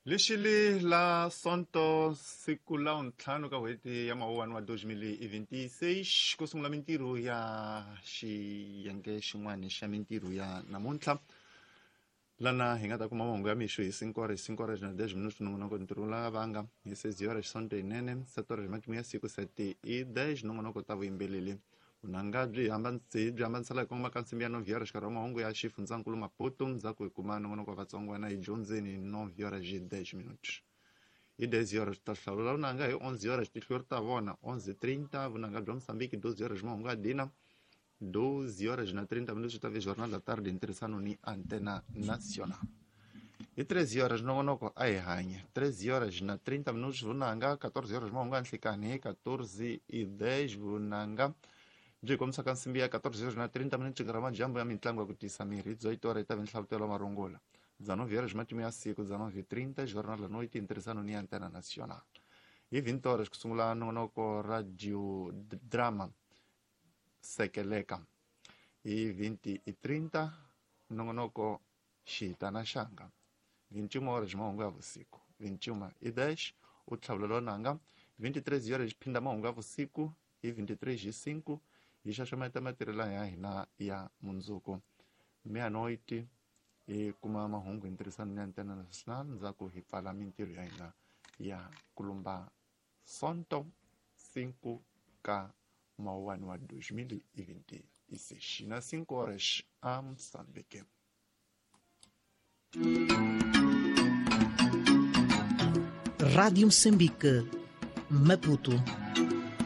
Lexili la Sonto siku la ntlhanu ka n'hweti ya Mawuwani wa 2026 ku sungula mintirho ya xiyenge xin'wana xa mintirho ya namuntlha, lana hi nga ta kuma mahungu ya mixo hi 5 horas, 5 horas na 10 minutos, nongonoko ntirho la vanga hi 6 horas, Sonto yinene 7 horas, matimu ya siku 7 i 10, nongonoko ta vuyimbeleri. Vunanga byi byi hambanisela hi kongoma ka nsimbi ya 9 horas, xikarhi wa mahungu ya xifundzankulu Maputo. Ndzhaku hi kuma nongonoko wa Vatsongwana hi dyondzeni 9 horas hi 10 minutos. Hi 10 horas ta hlawula vunanga, hi 11 horas tihlori ta vona, 11:30 vunanga bya Mosambiki, 12 horas mahungu ya dina, 12 horas na 30 minutos ta Jornal da Tarde em ntirhisano ni Antena Nacional. Hi 13 horas nongonoko a hi hanye, 13 horas na 30 minutos vunanga, 14 horas mahungu ya nhlikani, hi 14 i 10 vunanga byi kombisaka nsimbi ya 14 horas na 30 minutos, nkarhi wa madyambu ya mitlangu ya ku tiyisa miri. Hi 18 horas yi ta ve nhlavutelo wa marungula, 19 horas matimu ya siku, 19:30 Jornal da Noite em ntirhisano ni Antena Nacional. Hi 20 horas ku sungula nongonoko radio drama Sekeleka, hi 20:30 nongonoko Xihitana Xanga, 21 horas mahungu ya vusiku, 21:10 u tlhavulelo nanga, 23 horas xiphinda mahungu ya vusiku, hi 23 hi 5 hi xaxameta matirhelo ya hina ya mundzuku. Meia-noite hi kuma mahungu hi ntirhisano ni Antena Nacional. Ndzhaku hi pfala mintirho ya hina ya kulumba Sonto 5 ka Mawuwani wa 2026 na 5 horas a Moçambique. Rádio Moçambique, Maputo.